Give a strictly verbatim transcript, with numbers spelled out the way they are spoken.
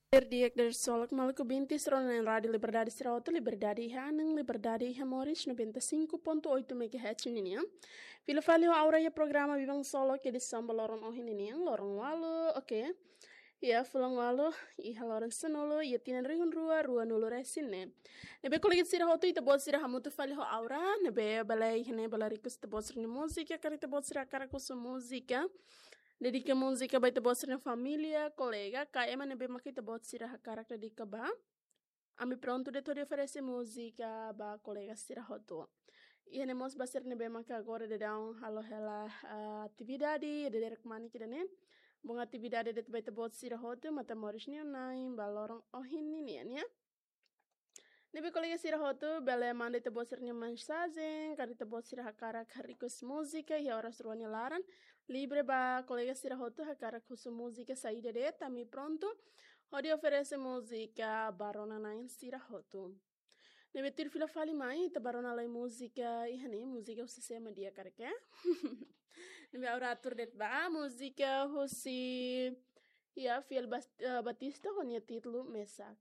Di'ak, di'ak, solok maluk binti sira-nia Rádiu Liberdade sira hotu, liberdade iha an, liberdade iha moris, noventa e cinco ponto oito megahertz ninian. Fila fali ho Aura iha programa Biban Solok edisaun ba loron ohin ninian, loron ualu, oke. Iha fulan ualu, iha loron sanulu, iha tinan rihun rua, ruanulu resin ne'e. Ne'ebé kolega sira hotu, ita-boot sira hamutuk fali ho Aura, ne'ebé bele iha ne'e bele request ita-boot sira-nia múzika, karik ita-boot sira hakarak husu múzika. Dedika múzika ba ita-boot sira-nia família, kolega, ka ema ne'ebé maka ita-boot sira hakarak dedika ba. Ami prontu de'it hodi oferese múzika ba kolega sira hotu. Iha ne'e mós ba sira ne'ebé maka agora daudaun halo hela, ah, atividade, iha dadeer kmanek ida-ne'e. Bom atividade de'it ba ita-boot sira hotu, matan moris nia na'in, ba loron ohin ninian, ya. Ne'ebé kolega sira hotu, bele manda ita-boot sira-nia mensajen, karik ita-boot sira hakarak request múzika, iha oras rua nia laran. Livre ba kolega sira hotu, hakarak husu múzika saida de'it, ami prontu hodi oferese múzika ba rona-na'in sira hotu. Ne'ebé tuir fila fali mai, ita ba rona lai múzika, iha ne'e múzika husi sé mak di'ak karik, ya. Ne'ebé Aura atur de'it ba, múzika husi, ya, Fiel Bas-, eh, Batista, ho nia títulu Mesak.